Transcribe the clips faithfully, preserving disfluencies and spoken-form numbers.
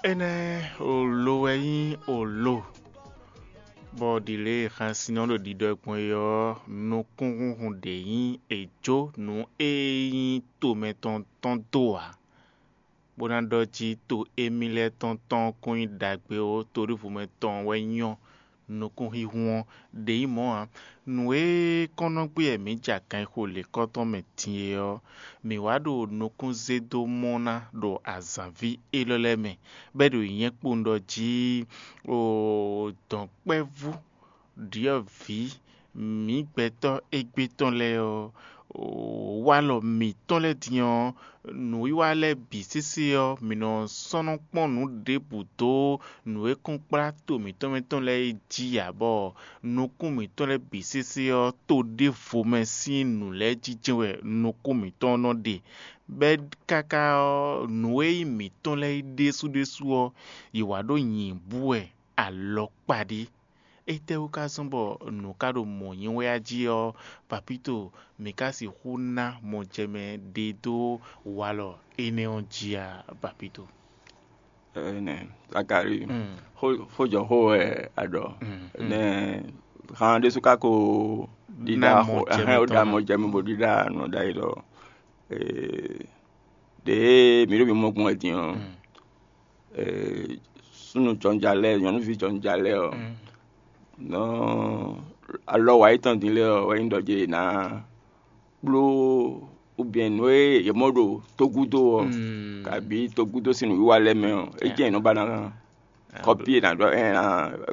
Énɛ́ olo wɛ nyí olo, bɔ ɖi lě e xansin ɔ́ ɖo ɖiɖɔ gbɔn é ɔ́, nukúnhúnhun ɖě nyí è jó nǔ e nyí tomɛ tɔn tɔn dó ǎ, bó ná ɖɔ jí to émí lɛ́ɛ tɔn tɔn kún nyí ɖagbe ó, to ɖěvo mɛ tɔn wɛ nyɔ́ nukúnhínhún ɔ́ ɖě nyí mɔ̌ ǎ. Nǔ e kɔn nɔ gbé wɛ mǐ ja kanxixo lěkɔ́tɔn mɛ din é ɔ́, mǐ wá ɖo nukún zé dó mɔ ná ɖo azǎnví élɔ́ lɛ́ɛ mɛ, bɔ é ɖo nyɛ̌ kpowun ɖɔ jí, oo, dɔ̌nkpɛvú ɖyɔ̌vǐ mǐ gbɛtɔ́ égbé tɔn lɛ́ɛ ɔ́, walɔ mǐtɔn lɛ́ɛ din ɔ́, nǔwiwa lɛ́ɛ bǐ sésé ɔ́, mǐ nɔ sɔ́ nɔ kpɔ́n nǔ ɖěbǔ dó nǔ e kún kplá to mǐtɔn mɛ tɔn lɛ́ɛ é jí ǎ, bɔ nukún mǐtɔn lɛ́ɛ bǐ sésé ɔ́, to ɖěvo mɛ sín nǔ lɛ́ɛ jínjɛ́n wɛ nukún mǐtɔn nɔ ɖe, bɔ é káká ɔ́, nǔ e nyí mǐtɔn lɛ́ɛ é ɖésú ɖésú ɔ́, yě wá ɖó nyǐbú wɛ alɔkpa ɖé. Étɛ́wú ka zɔ́n bɔ nǔ ka ɖo mɔ̌ nyí wɛ a jí ɔ́, Papito, mǐ ka sixú ná mɔjɛmɛ ɖe dó walɔ énɛ́ ɔ́ jí a, Papito? Ɛnɛ, Zakalíi, xó xó jɔ xó wɛ a ɖɔ. Nɛ han ɖésú ka ko ɖiɖa Ná xó mɔjɛmɛ ɛhɛn, ó tɔn ɖa ná. Mɔjɛmɛ bó ɖiɖa nɔ ɖ'ayǐ ɖɔ, ee, ɖě mǐ ɖo mǐ mɔ gbɔn wɛ din ɔ́, ee, súnnu jɔnja lɛ́ɛ, nyɔ̌nuví jɔnja lɛ́ɛ ɔ́, nɔ alɔ wa yětɔn din lɛ́ɛ ɔ́, wɛ nyí ɖɔ jɛ yě ná bló, ou bien nǔ e yě mɔ ɖo tógúdo ɔ́, kabǐ tógúdo sín nǔwiwa lɛ́ɛ mɛ ɔ́, é jɛ́n yě nɔ ba ná kɔ́pí e nǎ ɖɔ ɛ ná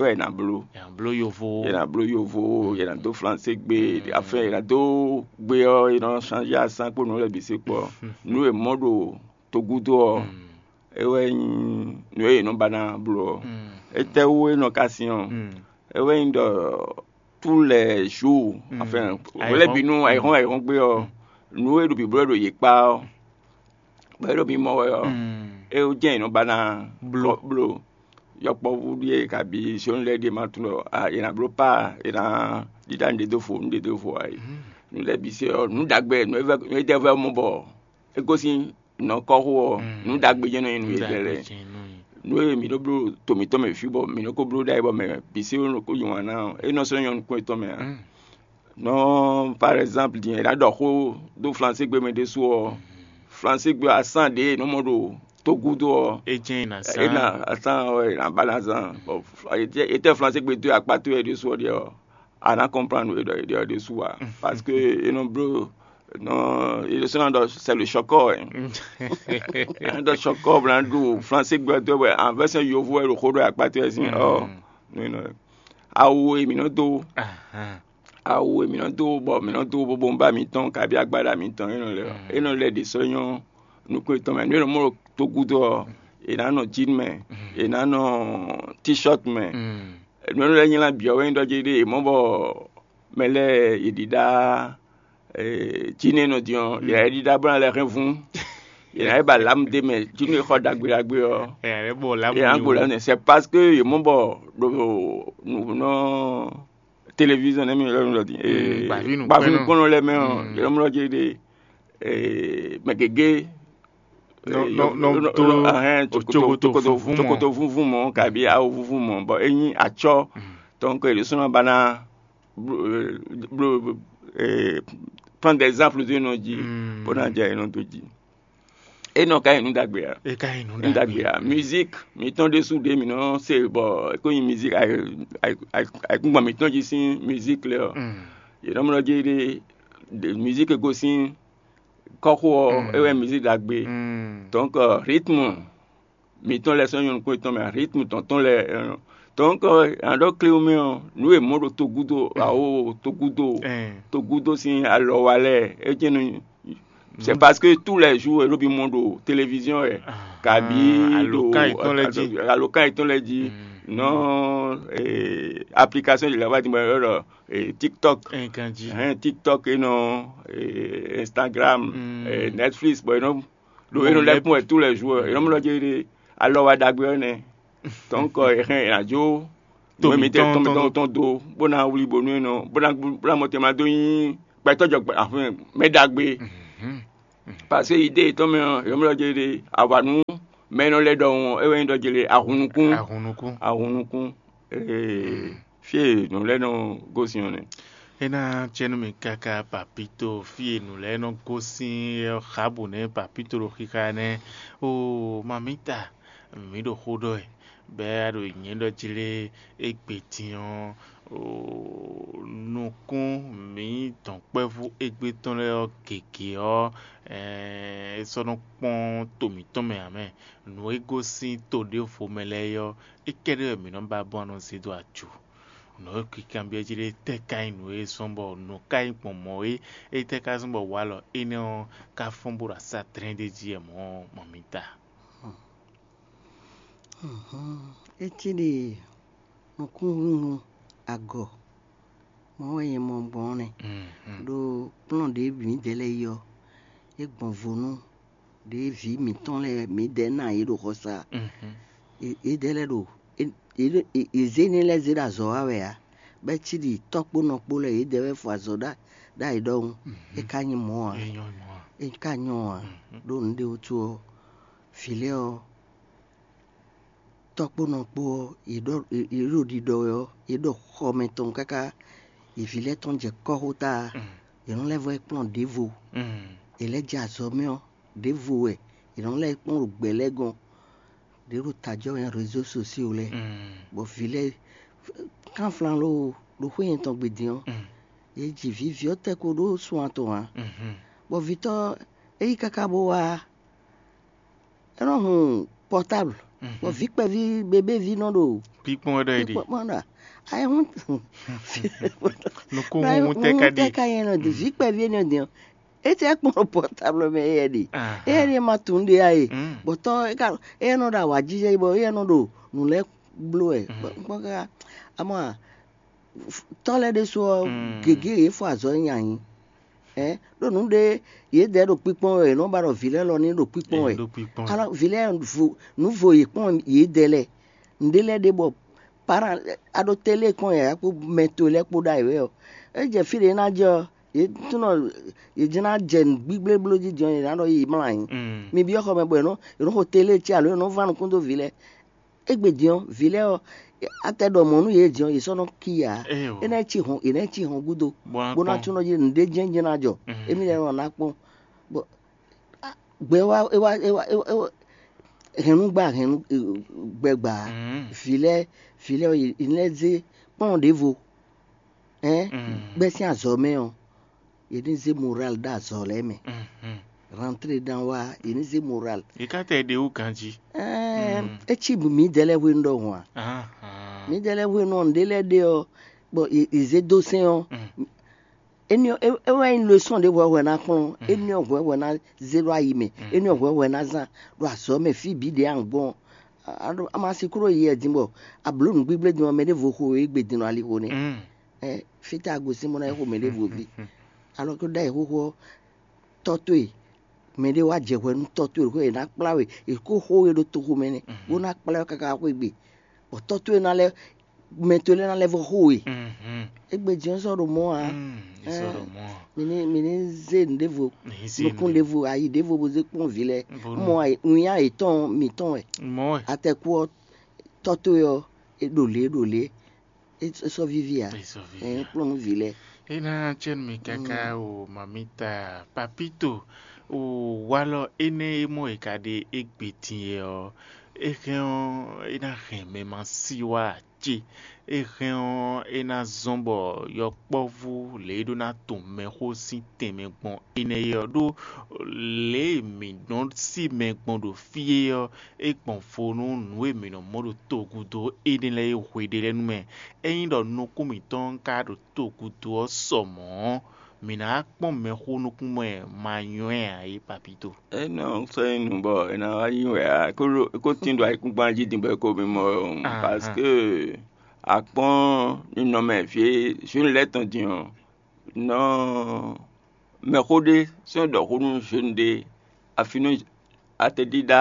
wɛ è nǎ bló. È nǎ bló yovo. È nǎ bló yovo, è nǎ dó flansé gbe, afin è nǎ dó gbe ɔ́, è nɔ changé asán kpó nǔ lɛ́ɛ bǐ sí kpɔ. Nǔ e mɔ ɖo togúdo ɔ́, é wɛ nyí nǔ e è nɔ ba ná bló ɔ́. Étɛ́wú é nɔ ka sin ɔ́? É wɛ nyí ɖɔ tous les jours, enfin, hwelɛ́bǐnu ayǐhɔ́n ayǐhɔ́n gbe ɔ́, nǔ e ɖo bǐbló ɖo yě kpá ɔ́, bɔ é ɖo mǐ mɔ wɛ ɔ́, é jɛ́n è nɔ ba ná Bló. Bló. Yɔkpɔ́vú ɖíe kabǐ zɔ́n lɛ́ɛ ɖíe ma tunwun ɖɔ a è nǎ bló pá, è nǎ ɖiɖa nǔɖé dó fo, nǔɖé dó fo ǎ é. Nǔ lɛ́ɛ bǐ se ɔ́, nǔ ɖagbe, nǔ e vɛ́ nǔ e jɛ vɛ́ mɔ bɔ é gosín nǔ ɔ́ kɔ́xo ɔ́, nǔ ɖagbe jɛ́n nɔ nyí nǔ e jɛ lɛ́ɛ. Nǔ e mǐ ɖó bló to mǐtɔn mɛ fí bɔ mǐ nɔ ko bló ɖ'ayǐ bɔ mɛ bǐ se nɔ ko yí wǎn ná ɔ́, é nɔ sɔ́ nyɔ́ nukún yětɔn mɛ ǎ. Nɔ par exemple din è nǎ ɖɔ xó dó flansé gbe mɛ ɖésú ɔ́, flansé gbe asán ɖě è nɔ mɔ ɖo togúdo ɔ́, É jɛ́n è nǎ é sán. Ná asán ɔ́ è nǎ ba ná zán. Bɔ etɛ́ flansé gbe dó akpá towe ɖésú ɔ́ ɖe ɔ́, a nǎ kɔnplan nǔ e ɖɔ è ɖe ɔ́ ɖésú ǎ. Parce que è nɔ bló nɔ è ɖésú ná ɖɔ c'est le chɔkɔ ɛ. È nɔ ɖɔ chɔkɔ bla ɖo flansé gbe dó wɛ anvɛsɛ yovo wɛ ɖo xó ɖɔ akpá towe sín ɔ. Awu e mǐ nɔ dó Ahán. Awu e mǐ nɔ dó bɔ mǐ nɔ dó bóbónbá mǐtɔn kabí agbáɖá mǐtɔn é nɔ lɛ ɔ́, é nɔ lɛ ɖě sɔ́ nyɔ́ nukún yětɔn mɛ. Nǔ e nɔ mɔ ɖo togúdo ɔ́, è nǎ nɔ jean mɛ, è nǎ nɔ t-shirt mɛ. Nǔ e nɔ lɛ́ nylá bǐ ɔ́ wɛ nyí ɖɔ jí ɖé è mɔ bɔ mɛ lɛ́ɛ è ɖiɖa jean e nɔ din ɔ́, è nǎ ɖiɖa bó ná lɛ́ hɛn vún. È nǎ yi ba lǎmu d'é mɛ, jean e xɔ ɖagbe ɖagbe ɔ́, Ɛ ɛ bɔ lǎmu è nǎ gbo lǎmu. C'est parce que è mɔ bɔ ɖo nǔ nɔ télévision nɛ́ mì lɛ́ nɔ ɖɔ din. Mm, gbavínukpɛ́nnɔ. Gbavínukpɛ́nnɔ lɛ́ɛ mɛ ɔ́, yě nɔ mlɔ́ jí ɖe mɛ gěgé Nɔ- nɔ- nɔ- do ahɛn, cokoto- cokoto cokoto- vúvú mɔ. Cokoto vúvú mɔ kabi awu vúvú mɔ bɔ é nyí acɔ́. Donc è ɖésú ná ba ná bló- bló- eh, prendre des exemples de nɔ jí Mm. Bó ná jɛ é nɔ dó jí. É nɔ ka nyí nǔ ɖagbe ǎ. É ka nyí nǔ Nǔ ɖagbe ɖagbe. Ǎ. Musique mǐtɔn ɖésú ɖě mǐ nɔ se bɔ é kó nyí musique ayǐkúngban mǐtɔn jí sín musique lɛ ɔ́. Mm. Yě nɔ mlɔ́ jí ɖe musique e gosín kɔ́xo ɔ́, é wɛ musique ɖagbe. Donc rythme mǐtɔn lɛ́ɛ sɔ́ nyɔ́ nukún yětɔn mɛ, rythme tɔn tɔn lɛ́ɛ. Donc à ɖɔ clé mɛ ɔ́, nǔ e mɔ ɖo togúdo awo togúdo togúdo sín alɔ wa lɛ́ɛ é jɛ́n nɔ c'est parce que tous les jours è ɖo bi mɔ ɖo télévision wɛ kabi ɖo alɔkan yětɔn lɛ́ɛ jí. Alɔkan yětɔn lɛ́ɛ jí nɔ application de la va di mɔ yɔrɔ TikTok. Hɛn TikTok e nɔ Instagram, Netflix bɔ e nɔ ɖo e nɔ lɛ́ kpɔ́n wɛ tous les jours e nɔ mɔ lɔ jɛ ɖe alɔ wa ɖagbe ɔ́ nɛ. Donc e hɛn e ná jó To nǔ e mi tɛ mǐtɔn tɔn mi tɔn tɔn do bó ná wlí bónú e nɔ bó ná bó ná mɔ tɛn ma dó nyí gbɛtɔ́ jɔ gbɛ afin mɛ ɖagbe. Parce que idée yětɔn mɛ ɔ́, yɔmlɔ jɛ ɖe awǎnú mɛ e nɔ lɛ́ ɖɔhun ɔ́, é wɛ nyí ɖɔ jlé ahunnukún. Ahunnukún. Ahunnukún. Ee, fí e nǔ lɛ́ɛ nɔ gosín ɔ́ nɛ́. É ná cɛ́ nú mì káká papito fí e nǔ lɛ́ɛ nɔ gosín ɔ́ xábǔ nɛ́ papito ɖo xixa nɛ́. Oo, mamita, mǐ ɖo xó ɖɔ wɛ, bɔ é wá ɖo nyɛ̌ ɖɔ jlé égbé din ɔ́, oo, nukún mǐ dɔ̌nkpɛvú égbé tɔn lɛ́ɛ ɔ́ gěgé ɔ́, é sɔ́ nɔ kpɔ́n to mǐtɔn mɛ ǎ mɛ. Nǔ e gosín to ɖěvo mɛ lɛ́ɛ é ɔ́, é kɛ́ɖɛ́ wɛ mǐ nɔ ba bɔ nɔ zé dó ajo. Nǔ e kanbyɔ́ jí ɖé tɛ́ ka nyí nǔ e zɔ́n bɔ nǔ ka nyí gbɔn mɔ̌ é? Étɛ́ ka zɔ́n bɔ walɔ énɛ́ ɔ́ ka fɔ́n bó ɖo asá dlɛ́n ɖ'é jí wɛ mɔ̌ ɔ́, mɔ mi ta? É cí ɖi nukúnhúnhún agɔ mɔ̌ wɛ nyɛ mɔ gbɔn ɔ́ nɛ́. Ɖó kplɔ́n ɖě mǐdɛɛ lɛ́ɛ yi ɔ́, é gbɔn vo nú ɖě vǐ mǐtɔn lɛ́ɛ mǐdɛɛ ná yě ɖo xɔsa. Yědɛɛ lɛ́ɛ ɖo yě zé énɛ́ lɛ́ɛ zé ɖo azɔ̌ wa wɛ ǎ, bɔ é cí ɖi tɔ́ kpó nɔ kpó lɛ́ɛ yědɛɛ wɛ fɔ azɔ̌ ɖ'ayǐ ɖɔhun. É ka nyí mɔ̌ ǎ. É ka nyɔ́ ǎ. Ɖó nǔɖé wútu ɔ́, vǐ lɛ́ɛ ɔ́, tɔ́ kpó nɔ kpó ɔ́, yě ɖɔ yě ɖo ɖiɖɔ wɛ ɔ́, yě ɖɔ xɔ mɛ tɔn káká, yě vǐ lɛ́ɛ tɔn jɛ kɔ́xota. Yě nɔ lɛ́ vɔ yi kplɔ́n ɖěvo. Yě lɛ́ jɛ azɔ̌ mɛ ɔ́, ɖěvo wɛ yě nɔ lɛ́ kplɔ́n ɖo gbɛ lɛ́ɛ gɔ́n. Ɖě ɖo tajɔ́ wɛ nyí rézo sosio lɛ́ɛ, bɔ vǐ lɛ́ɛ kánflán lóo ɖo xwé nyɛ tɔn gbe din ɔ́, yě ji vǐ vǐ ɔ́ tɛ́ ko ɖó sun atɔn ǎ. Bɔ vǐtɔ́ é yi káká bó wá, é nɔ hun pɔtábl, bɔ vǐ kpɛví bébéví nɔ ɖo kpíkpɔ́n wɛ ɖɔ é ɖe. Kpɔ́n ɖa ayé hún Nukúnhúnhún tɛ ka ɖe. Tɛ ka nyɛ nɔ ɖi vǐ kpɛví énɛ́ din ɔ́, é tɛ kpɔ́n ɖo pɔtábl mɛ éyɛ́ ɖe. Éyɛ́ ɖe ma tunú ɖe ya e, bɔtɔ́ é ka éyɛ́ nɔ ɖo awǎjijɛ bɔ éyɛ́ nɔ ɖo nǔ lɛ́ɛ bló wɛ. Kpɔ́n káká amɔ tɔ́ lɛ́ɛ ɖésú ɔ́, gěgé yě fɔ azɔ̌ nyi anyi. Ɖó nǔ ɖé yědɛɛ ɖo kpíkpɔ́n wɛ, yě nɔ ba ɖɔ vǐ lɛ́ɛ lɔ ní ɖo kpíkpɔ́n wɛ. Alɔ vǐ lɛ́ɛ nǔ vo yě kpɔ́n yědɛɛ lɛ́ɛ. Nǔɖé lɛ́ɛ ɖe bɔ parán a ɖo télé kpɔ́n yǎyá kpó mɛ to lɛ́ɛ kpó ɖ'ayǐ wɛ ɔ́, é jɛ fí ɖě é ná jɛ ɔ́, yě tunɔ yě jɛ́n ná jɛ nǔ gbígblébló jí din ɔ́, yě ná ɖɔ yí mlá ayǐ. Mi byɔ́ xɔ mɛ bɔ è nɔ è nɔ xo télé cí alo è nɔ ván nukún dó vǐ lɛ́ɛ. Égbé din ɔ́, vǐ lɛ́ɛ ɔ́, a tɛ ɖɔ mɔ̌ nú yě din ɔ́, yě sɔ́ nɔ kí ǎ. É ná cí hɔn è nǎ cí hɔn gúdo, bó ná tunɔ jí nǔɖé jɛ́n jɛ́n ná jɔ. Émí lɛ́ɛ nɔ ná kpɔ́n. Bɔ gbɛ wá é wá é wá é wá é wá hɛnnúgbà hɛnnú gbɛgbà vǐ lɛ́ɛ vǐ lɛ́ɛ ɔ́, yě lɛ́ zé kplɔ́n ɖěvo. Hɛn gbɛ́ sín azɔ̌ mɛ ɔ́, yě ní zé moral ɖó azɔ̌ lɛ́ɛ mɛ. Rantlé dán wá, yě ní zé moral. Yě ká tɛ ɖe wú ganjí. Ɛɛ, é cí mǐdɛɛ lɛ́ɛ hwenu ɖɔhun a? Mǐdɛɛ lɛ́ɛ hwenu ɔ́, nǔɖé lɛ́ɛ ɖe ɔ́, bɔ yě zé dó sɛn ɔ́, éní ɔ́ é wɛ nyí losɔn ɖěvo ɔ́ hwɛ ná kplɔ́n, éní ɔ́ hwɛ hwɛ ná zé ɖó ayi mɛ, éní ɔ́ hwɛ hwɛ ná zán ɖo azɔ̌ mɛ fí bǐ ɖě a gbɔn. A ma si kúrò yi wɛ din bɔ a blǒ nǔgbígblédun ɔ́, mɛ ɖěvo xo égbé din nɔ ali xo nɛ́. Fítɛ́ a gosín bó ná yi xo mɛ ɖěvo ví? Alɔ kó ɖ'ayǐ xóxó ɔ́, tɔ́ towe, mɛ ɖé wá jɛ hwɛ nú tɔ́ towe ɖo xó e è nǎ kplá we, è kó xó we ɖo toxo mɛ nɛ́, bó ná kplá we káká xwé gbe, bɔ tɔ́ towe ná lɛ́ mɛ towe lɛ́ɛ ná lɛ́ vɔ xó we. Égbé din ɔ́ sɔ́ ɖo mɔ̌ ǎ. Mi ní mi ní zé nǔ ɖěvo, nukún ɖěvo, ayi ɖěvo bó zé kpɔ́n vǐ lɛ́ɛ. Mɔ winnyá yětɔn mǐtɔn wɛ. Atɛkú ɔ́, tɔ́ towe ɔ́, é ɖo lě é ɖo lě. É sɔ́ víví ǎ. Ɛ kplɔ́n nú vǐ lɛ́ɛ. É ná cɛ́ nú mi káká o, mamita papito o, walɔ énɛ́ e mɔ è ka ɖe égbé din é ɔ́, é hɛn ɔ́, é ná hɛn mɛ ma sí wá ce. É hɛn ɔ́, é ná zɔ́n bɔ yɔkpɔ́vú lě e ɖó ná tunwun mɛxó sín tɛnmɛ gbɔn énɛ́ é ɔ́ ɖó lě e mǐ nɔ sí mɛ gbɔn ɖo fí é ɔ́, é gbɔn vo nú nǔ e mǐ nɔ mɔ ɖo togudo énɛ́ lɛ́ɛ e hweɖé lɛ́ɛ nu mɛ. Ényí ɖɔ nukún mǐtɔn ka ɖo togudo ɔ́ sɔ mɔ̌ ɔ́, mǐ ná wá kpɔ́n mɛxó nukún mɛ ma nywɛ́ ǎ é, papito. É nɔ sɔ́ nyí nǔ bɔ è nǎ wá nyi wɛ ǎ, é ko tín ɖo ayǐkúngban jí din bɔ é ko mimɔ. Parce que a kpɔ́n ninɔmɛ fí e zǔnu lɛ́ɛ tɔn din ɔ́, nɔ mɛxó ɖé sɔ́ ɖɔ xó nú zǔnu ɖé, afi nú atɛɖíɖá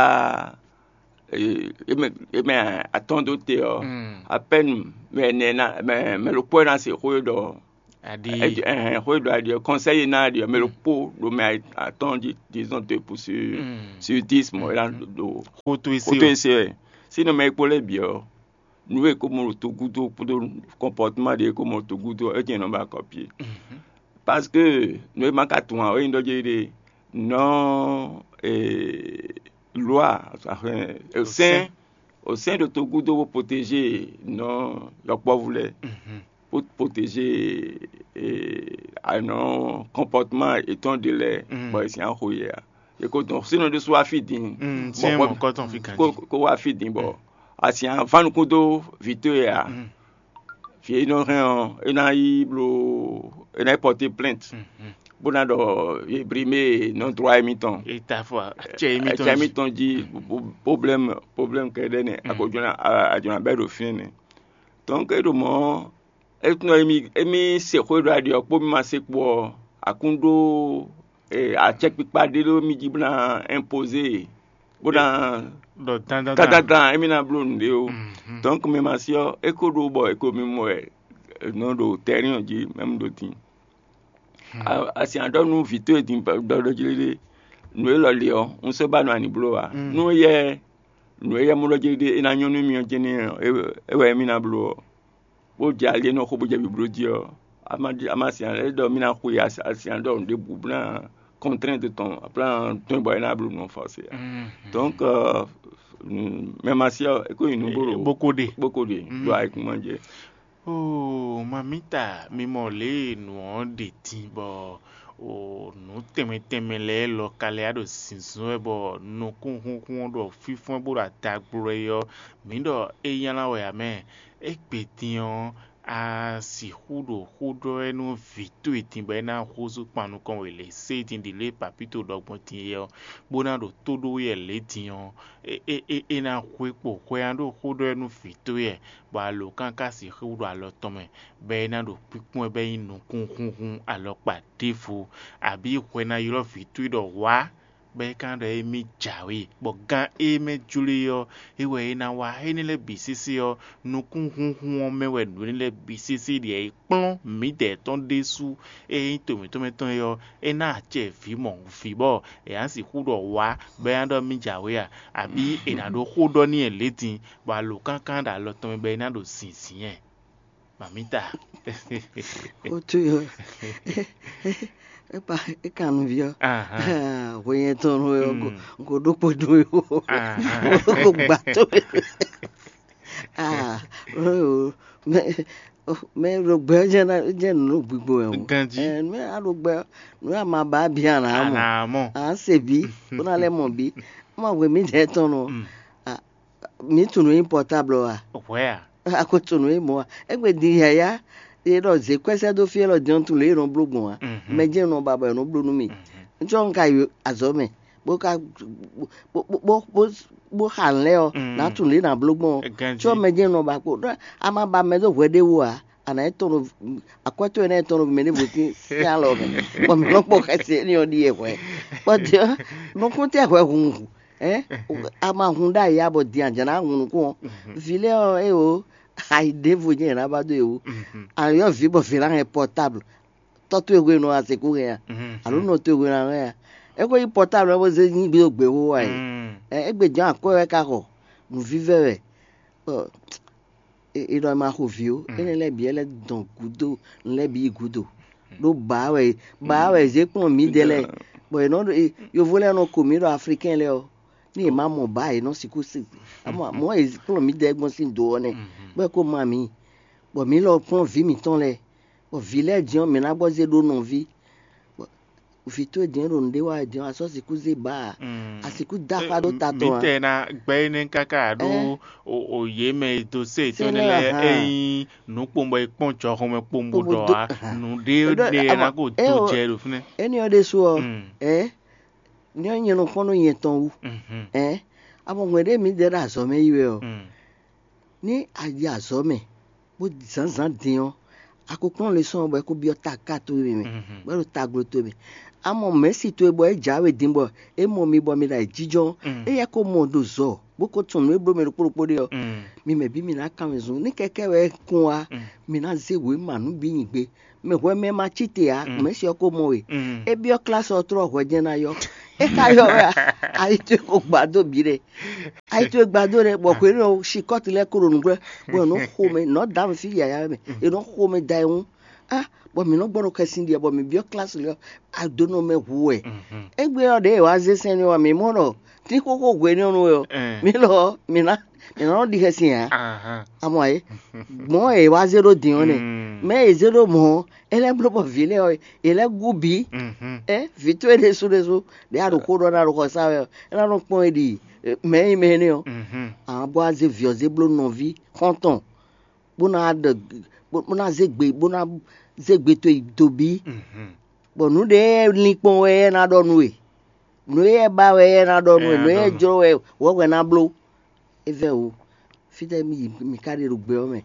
e mɛ atɔ́n dó te ɔ́, apɛ́nu mɛ ɛnɛ ná mɛ mɛ ɖokpó ná se xó e ɖɔ Aɖi. Xwé ɖo aɖi ɔ́, conseil e ná aɖi ɔ́, mɛ ɖokpó ɖo mɛ atɔ́ɔ́n jí, disons deux pour sur sur dix mɔ̌ é ná ɖo xótó ese xótó ese wɛ. Sínú mɛ e kpo lɛ́ɛ bǐ ɔ́, nǔ e ko mɔ ɖo togúdo kpódó comportement ɖě e ko mɔ ɖo togúdo ɔ́, é jɛ́n nɔ ba kɔ́ pié. Parce que nǔ e ma ka tunwun ǎ, é nyí ɖɔ jɛ ɖe nɔ loi, sɛn, o sɛn ɖo togúdo bó protéger nɔ yɔkpɔ́vú lɛ́ɛ, bó protéger anɔ comportement yětɔn ɖé lɛ́ɛ, bɔ è sixú xo yɛ ǎ. È ko dɔn sínɔ ɖésú wá fí din, Mm, bɔ tiens, xɔ- mon coton fi kan ko di. Ko wá fí din bɔ asi avan nukún dó vǐ towe ǎ. Vǐ e nɔ hɛn ɔ́, é ná yi bló, é ná yi porter plainte, bó ná ɖɔ yě brimé non droit émítɔn. Eta fɔ acɛ émítɔn Acɛ ji. Émítɔn jí, problème, problème kɛɖɛ́ nɛ, a ko jɔna, a jɔna bɛ́ ɖo fínɛ́ nɛ. Donc é ɖo mɔ̌, é tunɔ émí, émí se xwé ɖo aɖi ɔ́ kpó mí ma se kpo ɔ́, akún ɖó acɛkpikpa ɖé ɖó mí jí bó ná imposer, bó ná ɖɔ dandan dandan émí ná bló nǔɖé ó. Donc mɛ ma si ɔ́, é ko ɖó bɔ é ko mì mɔ wɛ nɔ ɖo terrain ɔ́ jí, mɛmu ɖo din. Asi aɖɔ nú vǐ towe din ɖɔɖɔ jí ɖé, nǔ élɔ́ li ɔ́, un sɔ́ ba nɔ ani bló ǎ. Nú éyɛ́ nǔ e yɛ mɔ ɖɔ jí ɖé é ná nyɔ́ nú mì ɔ́ jɛ́n nɛ́ ɔ́, é wɛ émí ná bló ɔ́, bó jɛ ali e nɔ xo bó jɛ bibló jí ɔ́, a ma ɖi- a ma sin ale ɖɔ mí ná xwe asi- asian ɖɔ nǔɖé bǔ bó ná kɔntrɛn do tɔn, a plán tɔn bɔ é ná bló nǔ ɔ́ fɔ́sé ǎ. Donc mɛ ma si ɔ́, é ko nyi nǔ bó ɖo bó ko ɖe. Bó ko ɖe ɖo ayikúnmá jɛ. Oo, mamita, mi mɔ lě e nǔ ɔ́ ɖe din bɔ o nǔ tɛnmɛ tɛnmɛ lɛ́ɛ lɔ ka lɛ́ ɖo zǐnzɔ́n wɛ bɔ nukúnhúnhún ɔ́ ɖo fínfɔ́n bó ɖo adagbló wɛ ɔ́, mǐ ɖɔ é nylá wɛ ǎ mɛ. Égbé din ɔ́, a sixú ɖo xó ɖɔ wɛ nú vǐ towe din bɔ é ná húzú kpan nukɔn we lě sé din ɖi lě e papíto ɖɔ gbɔn din é ɔ́, bó ná ɖo tó ɖó wɛ lě din ɔ́, é é é é ná hwe kpo hwɛ ɔ́ ɖo xó ɖɔ wɛ nú vǐ towe wɛ, bɔ alǒkan ka sixú ɖo alɔ tɔn mɛ, bɔ é ná ɖo kpínkpɔ́n ɛ bɔ é nyí nukúnhúnhún alɔkpa ɖěvo, abǐ hwɛ ná ylɔ́ vǐ towe ɖɔ wǎ, bɔ é ka ɖɔ émí jǎwe, bɔ gán e mɛ jló e ɔ́, é wɛ é ná wá. Énɛ́ lɛ́ɛ bǐ sésé ɔ́, nukúnhúnhún ɔ́ mɛ wɛ nǔ énɛ́ lɛ́ɛ bǐ sésé ɖi é kplɔ́n mǐdɛɛ tɔn ɖésú. Ée nyí to mǐtɔn mɛ tɔn é ɔ́, é ná acɛ vǐ mɔ vǐ bɔ è nǎ sixú ɖɔ wǎ, bɔ é ná ɖɔ mì jǎwe a? Abǐ è nǎ ɖó xó ɖɔ n'i lě din, bɔ alǒkankan ɖo alɔ tɔn mɛ bɔ é ná ɖo zǐnzín ɛ? Mamita. Ó tó yɔ. É pa é kan nǔví ɔ́. Ahán. Hwe nyɛ tɔn nú ɛ, kò ɖó kpo dó yó. Kò gbà tó. Ah, mɛ mɛ ɖo gbɛ ɔ́ jẹ́ ná jẹ́ nǔ ɖo gbigbo wɛ o. Ganjí. Ɛ, nú a ɖo gbɛ ɔ́, nú a ma ba bǐ a nǎ mɔ. A nǎ mɔ. A se bǐ, bó ná lɛ́ mɔ bǐ. Má hwe mǐdɛɛ tɔn nɔ. Mǐ tunwun nǔ nyí pɔtáblɔ a? Hwɛ a? A ko tunwun nǔ e mɔ a? Égbé din yǎyá e ɖɔ zě kwɛ́ sɛ́ dó fí élɔ́ din ɔ́, tunwun lě e è nɔ bló gbɔn a? Mɛ jɛ́n nɔ ba bɔ è nɔ bló nú mì. Ŋcɔ́ un ka yi azɔ̌ mɛ, bó ka bó bó bó bó xa nǔ lɛ́ɛ ɔ́, nǎ tunwun lě e nǎ bló gbɔn ɔ́. Ganjí. Có mɛ jɛ́n nɔ ba kpo. A ma ba mɛ dó hwɛ ɖé wú ǎ, a nǎ yi tɔn ɖo akwɛ́ towe nɛ́ e tɔn ɖo mɛ ɖěvo sín sín alɔ mɛ, bɔ mǐ nɔ kpɔ xɛsi énɛ́ ɔ́ ɖíe hwɛ. Bɔ din ɔ́, nukún tɛ́ hwɛ hunhun, ɛ? A ma hun ɖ'ayǐ ǎ, bɔ din a jǎ ná hun nukún ɔ́. Vǐ lɛ́ɛ ɔ́, é o, ayi ɖěvo jɛ́n yě ná ba dó yě wú. A yɔ́ vǐ bɔ vǐ ná hɛn pɔtábl, tɔ́ towe hwenu a sixú hɛn a? Alo nɔ towe hwenu a hɛn a? É ko nyí pɔtábl ɔ́ bó zé nyí gbé dó gběxó wá e. Ɛ, égbé jɔ̌n akwɛ́ wɛ ka xɔ, nǔvívɛ́ wɛ. Bɔ è è ɖɔ è ma xo vǐ ó, énɛ́ lɛ́ɛ bǐ wɛ lɛ́ dɔn gǔdo, un lɛ́ bǐ yi gǔdo. Ɖó bǎ wɛ bǎ wɛ zě kplɔ́n mǐdɛɛ lɛ́ɛ, bɔ è nɔ ɖo- e- yovo lɛ́ɛ nɔ ko mǐ ɖɔ aflikɛ́n lɛ́ɛ ɔ́, ní è má mɔ bǎ è nɔ sixú se. Amɔ mɔ̌ è kplɔ́n mǐdɛɛ gbɔn sín do ɔ́ nɛ́, bɔ é ko ma mǐ, bɔ mǐ lɔ kplɔ́n vǐ mǐtɔn lɛ́ɛ, bɔ vǐ lɛ́ɛ din ɔ́, mǐ ná gbɔ zé ɖó nɔví. Vǐ towe din ɔ́ ɖo nǔɖé wa wɛ din ɔ́, a sɔ́ sixú zé ba a? A sixú dó axwá ɖó ta tɔn a? Mǐtɛɛ ná gbɛ́ énɛ́ káká ɖó o yě mɛ e dó sé yětɔn énɛ́ lɛ́ɛ, é nyí nǔ kpowun bɔ è kpɔ́n jɔhɔn mɛ kpowun bó ɖɔ ǎ, nǔɖé ɖé ná ko dó jɛ ɖo fínɛ́. Énɛ́ ɔ́ ɖésú ɔ́, ɛ ní ɔ́ nyɛ nɔ kpɔ́n nú nyɛ tɔn wú. Ɛ, a mɔ hwɛ̌n ɖé mǐdɛɛ ɖo azɔ̌ mɛ yi wɛ ɔ́, ní a yi azɔ̌ mɛ, bó zǎnzǎn din ɔ́, a ko kplɔ́n lesɔ́ ɔ́ bɔ é ko byɔ́ taká towe mɛ, bɔ é ɖo taglo towe mɛ. A mɔ mɛ̌si towe bɔ é jǎwe din bɔ é mɔ mi bɔ mi ɖo ayǐjínjɔ́n, éyɛ́ ko mɔ ɖo zɔ bó ko tunwun nǔ e bló mɛ ɖokpó ɖokpó ɖe ɔ́, mi mɛ bǐ mi ná kan wezun. Ní kɛkɛ́ wɛ kún wá, mi ná zé wěma nǔ bǐ nyi gbe. Mɛ hwɛ mɛ ma cí te ǎ, mɛ̌si ɔ́ ko mɔ we. É byɔ́ klásɔ ɔ́ tlɔ́ hwɛ jɛ́n ná yɔ. É ka yɔ wɛ a? Ayi towe ko gbǎ dó bǐ ɖɛ. Ayi towe gbǎ dó ɖɛ, bɔ hwenu ɔ́, sikɔ́ti lɛ́ɛ ko ɖo nǔgbɛ́, bɔ è nɔ xo mɛ, nɔ̌ dǎ mɛ fí yǎyá mɛ, è nɔ xo mɛ da ɛ ŋu. Á, bɔ mǐ nɔ gbɔ ɖo xɛsin ɖi ɔ́, bɔ mǐ byɔ́ klásɔ lɛ́ɛ ɔ́, adonɔ mɛ hu wɛ. Égbé ɔ́, ɖěe è wǎ zé sɛn n'i ɔ́, mǐ mɔ ɖɔ tín xóxó hwenu ɔ́ nú wɛ ɔ́, mǐ lɔ ɔ́, mǐ ná mǐ ná nɔ ɖi xɛsin ǎ. Amɔ ɛ gbɔn e wá zé ɖó din ɔ́ nɛ, mɛ e zé ɖó mɔ̌ ɔ́, é lɛ́ bló bɔ vǐ lɛ́ɛ ɔ́, yě lɛ́ gú bǐ. Ɛ vǐ towe ɖésú ɖésú ɖě a ɖo xó ɖɔ ná ɖo xɔ sá wɛ ɔ́, é ná nɔ kpɔ́n e ɖi mɛ e nyí mɛ énɛ́ ɔ́. Ǎ bɔ a zé vǐ ɔ́ zé bló nɔví xɔ́ntɔn, bó ná ɖe bó ná zé gbe bó ná zé gbe towe dó bǐ. Bɔ nǔ ɖě e lin kpɔ́n wɛ é ná ɖɔ nú we. Nǔ e é ba wɛ é ná ɖɔ nú we, nǔ e é jló wɛ wɛ̌ hwɛ ná bló. É vɛ́ wǔ. Fítɛ́ mì yi mì ka ɖe ɖo gbɛ ɔ́ mɛ?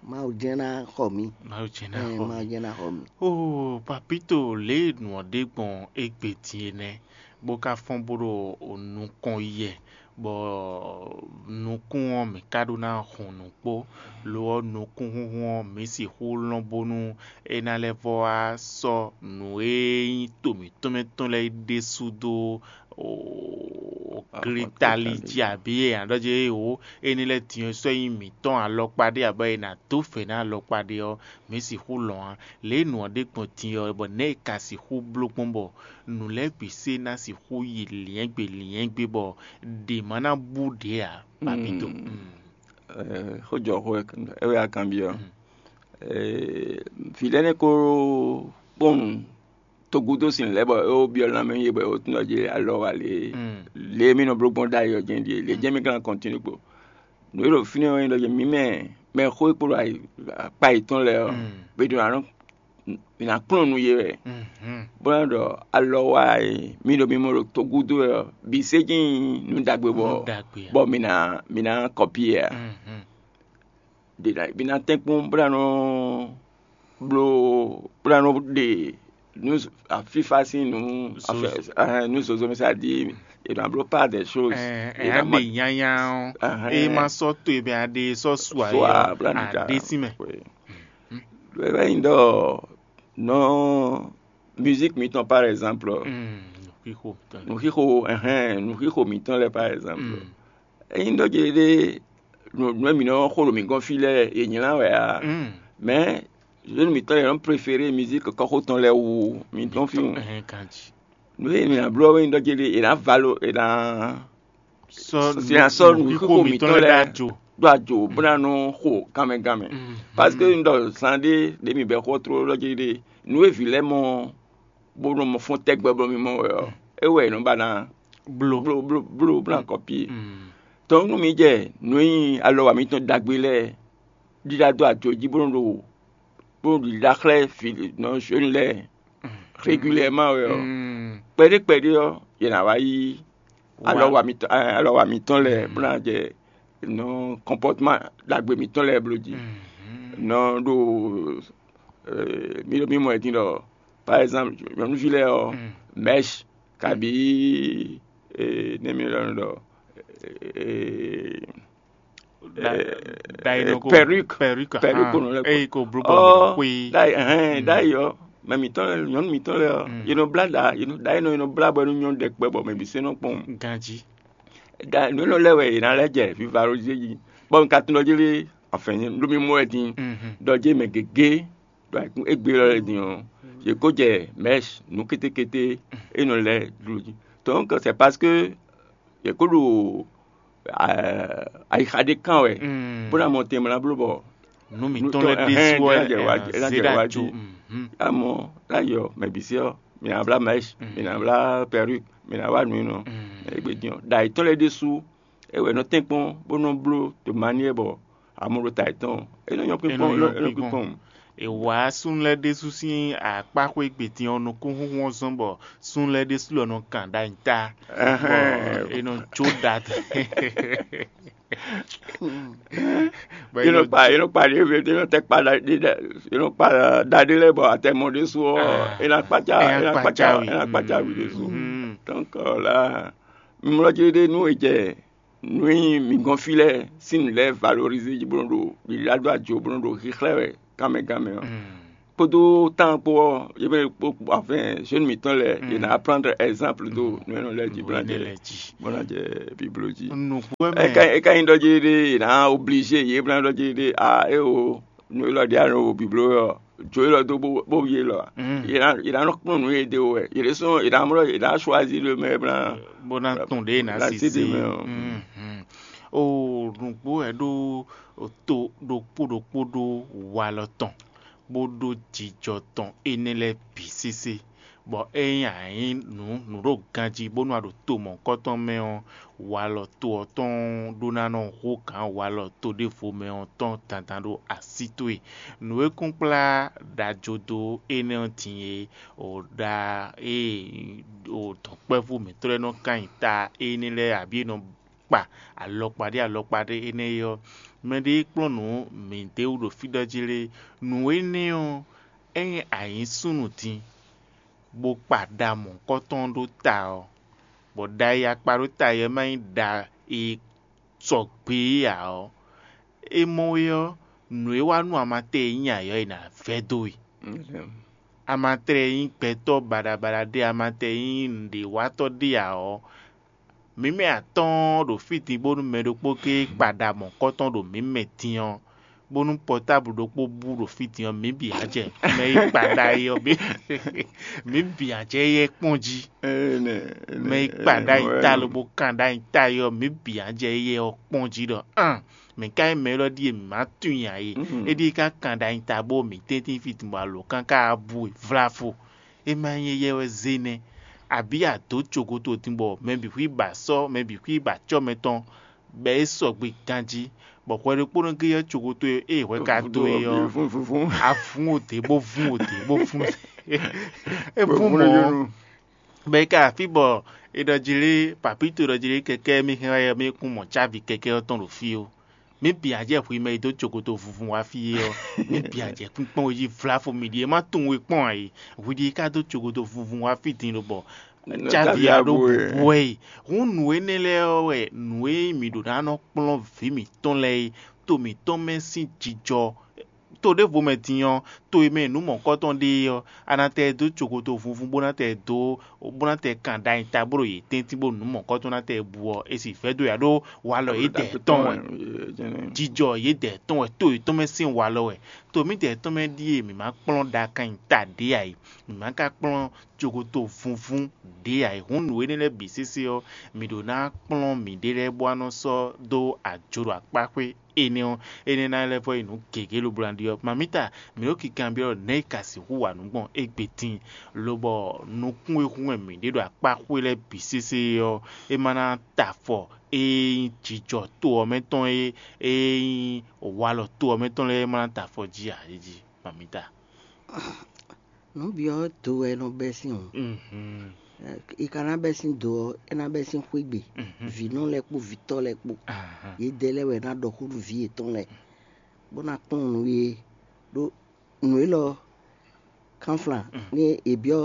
Mawu jɛ́n ná xɔ mǐ. Mawu jɛ́n ná Ɛɛ, xɔ Mawu mǐ. Jɛ́n ná xɔ mǐ. Oo, Papito, lě e nǔ ɔ́ ɖe gbɔn égbé din é nɛ́, bó ka fɔ́n bó ɖo nukɔn yi wɛ, bɔ nukún ɔ́ mǐ ka ɖó ná hun nǔ kpó. Lo ɔ́, nukúnhúnhún ɔ́, mǐ sixú lɔn bónú é ná lɛ́ vɔ wá sɔ́ nǔ e nyí to mǐtɔn mɛ tɔn lɛ́ɛ ɖésú dó glitali jí abǐ e ǎ ɖɔ jí éwo éní lɛ́ɛ din ɔ́ sɔ́ nyí mǐtɔn alɔkpa ɖé abɔ è nǎ dó fɛ̌ ná alɔkpa ɖé ɔ́, mǐ sixú lɔn ǎ. Lě e nǔ ɔ́ ɖe gbɔn din ɔ́, bɔ nɛ̌ è ka sixú bló gbɔn bɔ nǔ lɛ́ɛ bǐ se ná sixú yi lyɛ̌ngbe lyɛ̌ngbe bɔ ɖě ma ná bú ɖě ǎ? Papito. Xójɔxó, é wɛ a kanbyɔ́. Vǐ lɛ́ɛ nɛ́ ko kpɔ́n nǔ togúdo sin lɛ́ɛ bɔ é wó byɔ́ lanmɛ nyi yě bɔ é wó tunwun ɖɔ jí alɔ wá lě lě e mì nɔ bló gbɔn ɖ'ayǐ ɔ́ jɛ́n ɖíe, lě jɛ́n mì ka ná kɔntinu kpo. Nǔ e ɖo fínɛ́ ɔ́ nyí ɖɔ jí mǐ mɛ mɛ xó e kpo ɖo akpa yětɔn lɛ́ɛ ɔ́, mǐ ɖo ná nɔ mǐ ná kplɔ́n nú yě wɛ, bó ná ɖɔ alɔ wá e mì ɖo mì mɔ ɖo togúdo wɛ ɔ́, bǐ sé jí nyí nǔ ɖagbe bɔ Nǔ ɖagbe ǎ. Bɔ mǐ ná mǐ ná kɔpí ɛ ǎ. Ɖě ná mǐ ná tɛ́nkpɔ́n bó ná nɔ bló bó ná nɔ ɖe nǔ afífá sín nǔ Zozo. Afɛ- ɛhɛn, nǔ zozo mɛ sá di è nɔ bló pas des choses. Ɛ, È ɛ, nɔ aɖe ma- nyanya ɔ́, Ahɛn. Eye ma sɔ́ to e bɛ aɖe sɔ́ su So ayé a ɔ́, bla ɖiɖa. Aɖe sí mɛ. Wɛ wɛ nyi ɖɔ nɔ musique mitɔn par exemple. Mm, nuxixo mitɔn. Nuxixo, ɛhɛn, nuxixo mitɔn lɛ par exemple. Mm. Enyi ɖɔ je ɖe nǔ nǔ e mǐ nɔ xo ɖo mǐ gɔ́n fí lɛ́ɛ è nylá wɛ a? Mm. Mɛ zénu mǐtɔn lɛ́ɛ nɔ préféré musique kɔ́xo tɔn lɛ́ɛ wu mǐtɔn fí wu. Ɛhɛn, kanji. Nǔ e mǐ ná bló ɔ́ wɛ nyí ɖɔ je ɖe è nǎ valo è nǎ Sɔ sɔ sɔ nǔxixo mǐtɔn lɛ́ɛ ɖo ajo. Ɖo ajo bó ná nɔ xo kanmɛ kanmɛ. Mhm. Parce que un ɖɔ zan ɖé ɖě mǐ bɛ xɔ tló ɖɔ je ɖe nǔ e vǐ lɛ́ɛ mɔ bó nɔ mɔ fɔ́n tɛgbɛ bɔ mì mɔ wɛ ɔ́, é wɛ è nɔ ba ná Blo. Blo blo blo bó ná kɔpí. Mm. Tɔn nú mi jɛ nǔ e nyí alɔ wa mitɔn ɖagbe lɛ́ɛ ɖiɖa dó ajo jí bó nɔ ɖo bó nɔ ɖiɖa xlɛ́ vǐ nɔ zhwenu lɛ́ɛ régulièrement wɛ ɔ́, Mm. Kpɛɖé kpɛɖé ɔ́, yě ná wá yí Wá. Alɔ wa mitɔn ɛ, alɔ wa mitɔn lɛ́ɛ bó ná jɛ nɔ comportement ɖagbe mitɔn lɛ́ɛ bló jí. Mhm. Nɔ ɖo ɛ, mi ɖo mi mɔ ɛ din ɖɔ par exemple nyɔnuví lɛ́ɛ ɔ́, Mm. Mèche kabi ɛ, ne mi ɖɔ ɖɔ ɛ, Da- ɛ, da ɛ, inɔ ko- perruque. Perruque, Perruque ah, ko nɔ lɛ ko. Eyi ko blo bɔ Ɔ, xwe. Ɖayi ɛhɛn, Mm. Ɖayi ɔ́, mɛ mitɔn lɛ nyɔnu mitɔn lɛ ɔ́, Mm. Yě nɔ blá ɖa, yě nɔ ɖa yě nɔ yě nɔ blá bɔ é nɔ nyɔ́ ɖɛkpɛ bɔ mɛ bǐ se nɔ kpɔn. Ganji. Da nǔ nɔ lɛ wɛ yě ná lɛ jɛ viva ɖo jí jí. Bɔ un ka tunɔ jí lé, enfin, ɖo mi mɔ wɛ din, Mhm. Ɖɔ jí mɛ gěgé ɖo ayǐkún égbé lɔ lɛ din ɔ́, yě kó jɛ mèche nǔ kétékété é nɔ lɛ dlo jí. Donc c'est parce que yě kó ɖo ɛ, ayixa ɖé kán wɛ, Mm. Bó ná mɔ tɛnmɛ ná bló bɔ Nú mitɔn lɛ́ɛ ɖésú ɔ́, ɛ, ná jɛ wá ɛ, jí, é ná zé jɛ ɖo wá ajo. Jí. Mhm. Amɔ ná yɔ mɛ bǐ sí ɔ́, mǐ ná blá mèche, Mm. Mǐ ná blá perruque, mǐ ná wá nǔ nɔ Mm. Égbé dín ɔ́, ɖo ayǐtɔn lɛ́ɛ ɖésú é wɛ nɔ tɛ́nkpɔ́n bó nɔ bló to manière bɔ amɔ ɖo ta yětɔn, é nɔ nyɔ́ É nɔ kpínkpɔ́n, é nɔ nyɔ́ é nɔ kpínkpɔ́n. Kpínkpɔ́n. È wǎ súnnu lɛ́ɛ ɖésú sín akpáxwé gbědín ɔ́ nukúnhúnhún ɔ́ zɔ́n bɔ súnnu lɛ́ɛ ɖésú lɔ nɔ kan ɖ'ayǐ ta. Ɛhɛn. Bɔ è nɔ jó ɖa. Bɔ è Yé nɔ nɔ kpa, yé nɔ kpa ɖě, yé nɔ tɛ kpa ɖa, ɖe, ɖe, yé nɔ kpa ɖa ɖé lɛ́ɛ bɔ atɛ mɔ ɖésú ɔ́, Ah. É ná kpácá, É ná é ná kpácá, kpácá wì. É ná kpácá wì ɖésú. Mhm. Donc là, mimlɔ jí ɖé nú è jɛ nǔ e nyí mǐ gɔ́n fí lɛ́ɛ sín nǔ lɛ́ɛ valorizé jí bó nɔ́ ɖo ɖiɖa dó ajo bó nɔ́ ɖo xíxlɛ́ wɛ gánmɛ gánmɛ ɔ́, kpódó tán kpó ɔ́, yě mɛ kpó afin jeune mǐtɔn lɛ́ɛ yě ná prendre exemple dó nǔ e nɔ lɛ́ɛ jí bó ná jɛ bó ná jɛ biblo jí. Nǔgbó wɛ mɛ. É ka é ka nyí ɖɔ jí ɖé yě ná obligé yě bó ná ɖɔ jí ɖé a é o nǔ élɔ́ ɖě a nɔ wo biblo ɔ́, jo élɔ́ dó bó bó yi élɔ́ a? Yě ná yě ná nɔ kplɔ́n nǔ e ɖe wɛ yě ɖésú yě ná mlɔ́ yě ná choisir le mɛ bó ná bó ná tɔn ɖě ná ná sisi. Sisi mɛ ɔ́. Mhm. O nǔgbó wɛ ɖó to ɖokpó ɖokpó ɖó walɔ tɔn bó ɖó jijɔ tɔn énɛ́ lɛ́ɛ bǐ sésé, bɔ ényí a nyǐ nǔ nǔ ɖo ganjí bónú a ɖo to mɔ̌hunkɔtɔn mɛ ɔ́, walɔ to ɔ́ tɔn ɖó ná nɔ hú gǎn walɔ to ɖěvo mɛ ɔ́ tɔn dandan ɖó así towe. Nǔ e kún kplá ɖajodo énɛ́ ɔ́ din é, o ɖa e o dɔ̌nkpɛ́vú mǐtɔn lɛ́ɛ nɔ kan nyi ta énɛ́ lɛ́ɛ abǐ e nɔ kpa alɔkpa ɖé alɔkpa ɖé énɛ́ é ɔ́, mɛɖé e kplɔ́n nǔ mǐ d'é wú ɖo fí ɖɔ jí lé. Nǔ énɛ́ ɔ́, ényí a nyǐ súnnu din, bó kpa ɖa mɔ̌hunkɔtɔn ɖó ta ɔ́, bɔ ɖa e a kpa ɖó ta ɔ́ ma nyí ɖa e sɔgbe é ǎ ɔ́, é mɔ é ɔ́, nǔ e wá nú amatɛ e nyí ayɔ̌ è nǎ vɛ́ dó we. Amatɛ e nyí gbɛtɔ́ baɖabaɖa ɖé, amatɛ e nyí nǔɖéwatɔ́ ɖé ǎ ɔ́, mǐ mɛ atɔ́ɔ́n ɖo fí din bónú mɛ ɖokpó géé kpa ɖa mɔ̌hunkɔtɔn ɖo mǐ mɛ din ɔ́, bónú pɔtáblu ɖokpó bú ɖo fí din ɔ́, mǐ bǐ ná jɛ mɛ e kpa ɖa é ɔ́ bǐ mǐ bǐ ná jɛ éyɛ́ kpɔ́n jí. Mɛ e kpa ɖa nyi ta lobo kan ɖa nyi ta é ɔ́, mǐ bǐ ná jɛ éyɛ́ ɔ́ kpɔ́n jí ɖɔ an mǐ ka nyí mɛ élɔ́ ɖíe mǐ má tunwun ǎ é. É ɖíe ka kan ɖa nyi ta bó mǐ tɛ́ntin fí din bɔ alǒkan ka wá bú we vláfo. É ma nyí éyɛ́ wɛ zé nɛ́, abǐ a dǒ cogoto din bɔ mɛ bǐ xwí ba sɔ́ mɛ bǐ xwí ba acɔ́ mɛtɔn bɔ é sɔgbe ganjí, bɔ hwɛ ɖokpónɔ géé ɔ́ cogoto e hwɛ ka dó é ɔ́, a vún odě bó vún odě bó vún é vún mɔ̌ ɔ́, bɔ é ka afí bɔ è ɖɔ jí lé papíto ɖɔ jí lé kɛkɛ́ mì hɛn wá é ɔ́, mì kún mɔ cávi kɛkɛ́ ɔ́ tɔn ɖo fí ó. Mǐ bǐ ǎ jɛ hwi mɛ e dó cokoto vunvun wá fí é ɔ́, mǐ bǐ ǎ jɛ kpínkpɔ́n we jí vlafo mì ɖíe má tunwun we kpɔ́n ǎ é. Hwi ɖíe ka dó cokoto vunvun wá fí din lobɔ cávi ǎ ɖó bǔbú wɛ é. Hǔn nǔ énɛ́ lɛ́ɛ ɔ́ wɛ nǔ e mǐ ɖǒ ná nɔ kplɔ́n vǐ mǐtɔn lɛ́ɛ é, to mǐtɔn mɛ sín jijɔ to ɖěvo mɛ din ɔ́, to e mɛ nǔ mɔ̌kɔtɔn ɖe é ɔ́, a nǎ tɛ ɛ dó cokoto vunvun bó ná tɛ ɛ dó bó ná tɛ ɛ kan ɖ'ayǐ ta bó ɖo yě tɛ́ntin bó nǔ mɔ̌kɔtɔn ná tɛ ɛ bu ɔ́, è sì vɛ́ dó yě ɖó walɔ yědɛɛ tɔn wɛ. Jijɔ yědɛɛ tɔn wɛ, to yětɔn mɛ sín walɔ wɛ. To mǐdɛɛ tɔn mɛ ɖíe mǐ ma kplɔ́n ɖa kan nyi ta ɖě ǎ é, mǐ ma ka kplɔ́n cokoto vunvun ɖě ǎ é. Hǔn nǔ énɛ́ lɛ́ɛ bǐ sésé ɔ́, mǐ ɖó ná kplɔ́n mǐɖée lɛ́ɛ bó wá nɔ sɔ́ dó ajo ɖo akpá xwé énɛ́ ɔ́, énɛ́ ná lɛ́ vɔ yi nǔ gěgé lobo ná ɖi ɔ́, mamǐta mǐ ɖo kinkanbyɔ́ nɛ̌ è ka sixú wa nǔ gbɔn égbé din, lobɔ nukún e hun wɛ mǐ ɖe ɖo akpá xwé lɛ́ɛ bǐ sésé ɔ́, é ma ná ta afɔ e nyí jijɔ to ɔ́ mɛ tɔn e e nyí walɔ to ɔ́ mɛ tɔn lɛ́ɛ é ma ná ta afɔ jí ǎ é jí, mamǐta. Nǔ bǐ ɔ́ do wɛ é nɔ bɛ́ sín o. È ka ná bɛ́ sín do ɔ́, é ná bɛ́ sín xwé gbe. Vǐnɔ lɛ́ɛ kpó vǐtɔ́ lɛ́ɛ kpó, yědɛɛ lɛ́ɛ wɛ ná ɖɔ xó nú vǐ yětɔn lɛ́ɛ, bó ná kplɔ́n nǔ yě ɖó nǔ élɔ́ kánflán ní è byɔ́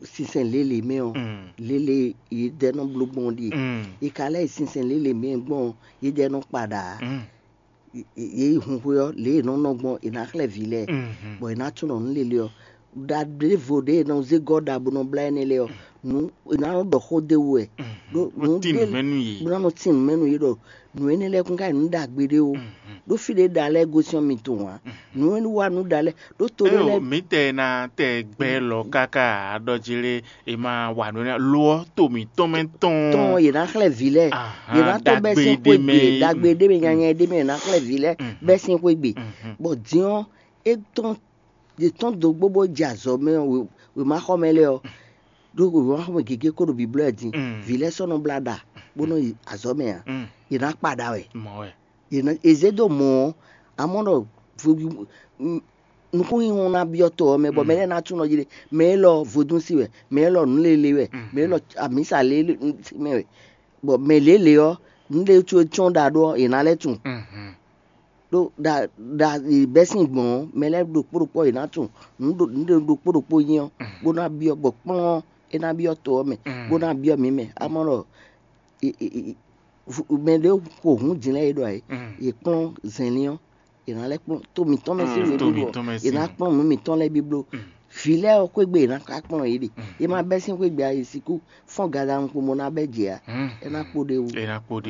sinsɛn lělě mɛ ɔ́, lělě yědɛɛ nɔ bló gbɔn ɔ́ ɖíe. È ka lɛ́ yi sinsɛn lělě mɛ gbɔn ɔ́, yědɛɛ nɔ kpa ɖa ǎ. Yě yi hun xwé ɔ́, lě e è nɔ nɔ gbɔn è nǎ xlɛ́ vǐ lɛ́ɛ, bɔ è nǎ tunɔ nǔ lélé ɔ́, ɖa ɖěvo ɖě è nɔ zé gɔ́ ɖa bó nɔ blá énɛ́ lɛ́ɛ ɔ́, nǔ è nǎ nɔ ɖɔ xó d'é wú wɛ. Ɖó nǔ tín nǔ mɛ nú yě. Bó ná nɔ tín nǔ mɛ nú yě ɖɔ nǔ énɛ́ lɛ́ɛ kún ka nyí nǔ ɖagbe ɖé ó. Ɖó fí ɖě ɖa lɛ́ɛ gosín ɔ́, mi tunwun ǎ. Nǔ e wá nǔ ɖa lɛ́ɛ ɖó to ɖé Éyo, lɛ́ɛ mǐtɛɛ ná tɛ gbɛ lɔ káká aɖɔ jí lé è ma wa nǔ énɛ́ lo ɔ́ to mǐtɔn mɛ tɔn tɔn yě ná xlɛ́ vǐ lɛ́ɛ. Yě ná tɔ́n bɛ́ sín xwé gbe ɖagbe ɖé mɛ nyanya ɖé mɛ yě ná xlɛ́ vǐ lɛ́ɛ bɛ́ sín xwé gbe. Bɔ din ɔ́, é tɔ́n è tɔ́n dó gbó bó jɛ azɔ̌ mɛ ɔ́, wěmáxɔmɛ lɛ́ɛ ɔ́, ɖó wěmáxɔmɛ gěgé kó ɖo bǐblɔ́ ɛ din. Vǐ lɛ́ɛ sɔ́ nɔ blá ɖa bó nɔ yi azɔ̌ mɛ ǎ. Yě ná kpa ɖa wɛ. Mɔ̌ wɛ. Yě ná è zě dó mɔ̌ ɔ́, amɔ̌ ɖɔ nukúnnyinyi ná byɔ́ to ɔ́ mɛ, bɔ mɛ lɛ́ɛ ná tunɔ jí ɖe, mɛ élɔ́ vodúnsi wɛ, mɛ élɔ́ nǔléle wɛ, mɛ élɔ́ amǐsa léle mɛ wɛ, bɔ mɛ lěle ɔ́, nǔɖé có e cɔ́n ɖa ɖó ɔ́, è nǎ lɛ́ tunwun. Ɖó ɖa ɖa bɛ́ sín gbɔn ɔ́, mɛ lɛ́ɛ ɖokpó ɖokpó ɔ́, è nǎ tunwun nǔɖé ɖokpó ɖokpó nyí ɔ́, bó ná byɔ́ gbɔ kplɔ́n ɔ́, é ná byɔ́ to ɔ́ mɛ, bó ná byɔ́ mǐ mɛ. Amɔ̌ ɖɔ mɛ ɖé xo hǔn din lɛ́ɛ é ɖɔ ayé, yě kplɔ́n zɛnlin ɔ́, yě ná lɛ́ kplɔ́n tó mǐtɔn mɛ sín nǔ e tó bí bló mǐtɔn mɛ ɔ́, yě ná kplɔ́n nǔ mǐtɔn lɛ́ɛ bí bló. Vǐ lɛ́ɛ ɔ́ xwé gbe yě ná ka kplɔ́n yě ɖe. Yě má bɛ́ sín xwé gbe a, yě sixú fɔ́n gadaɖunkpo bó ná bɛ́ jɛ ǎ. É ná kpo ɖ'é wú. É ná kpo ɖ'é